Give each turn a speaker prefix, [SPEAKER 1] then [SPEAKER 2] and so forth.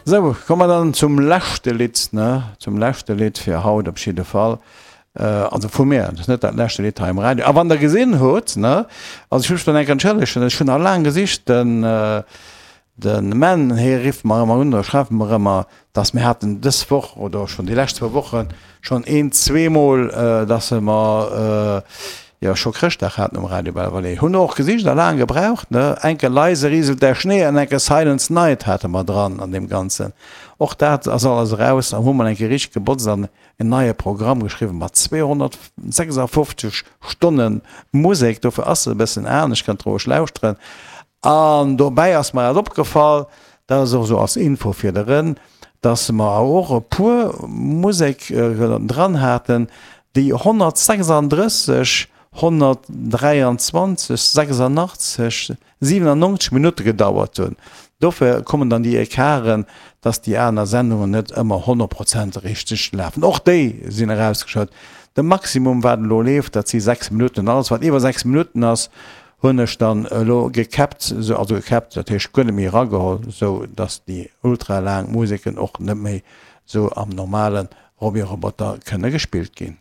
[SPEAKER 1] Sou, komme mer dann zum leschte Lidd, ne? Zum leschte Lidd fir haut op jidde Fall. Also vu mir, dat ass net dat leschte Lidd hei um Radio. A wann Der gesinn hutt, ne, also ech muss mech dann enk entschëllegen, ech hunn nach laang gesicht, den, den Menn, hie rifft mer ëmmer un oder schreift mer ëmmer, dass mir haten dës Woch oder schonn déi lescht zwou Woche schonn een, zweemol, dass se mer, jo, scho Chrëschtdag haten um Radio Belval. Hunn och gesicht a laang gebraucht, ne, enke Leise rieselt der Schnee an enke Silence Night hate mer dran an deem Ganzen. Och dat ass alles eraus a hu mer enke richteg gebotzt an en neie Programm geschriwwen mat 256 Stonne Musek, dofir ass se e bëssen anescht, kënnt roueg lauschteren. An dobäi ass mer dat opgefall, dat ass och esou als Info fir de Ren, dass mer och e puer Musek dran haten, déi 136, 123, 86, 97 Minutte gedauert hunn. Dofir kommen dann déi Ecarten, dass déi aner Sendungen net ëmmer 100 Prozent richteg lafen. Och déi sinn erausgeschat. De Maximum, wat elo leeft, dat si 6 Minutten. Alles, wat iwwer 6 Minutten ass, hunn ech dann elo gekäppt, esou, also gekäppt, dat heescht guer net méi erageholl, esou dass déi ultra laang Museken och net méi esou am normale Roby Roboter kënne gespillt ginn.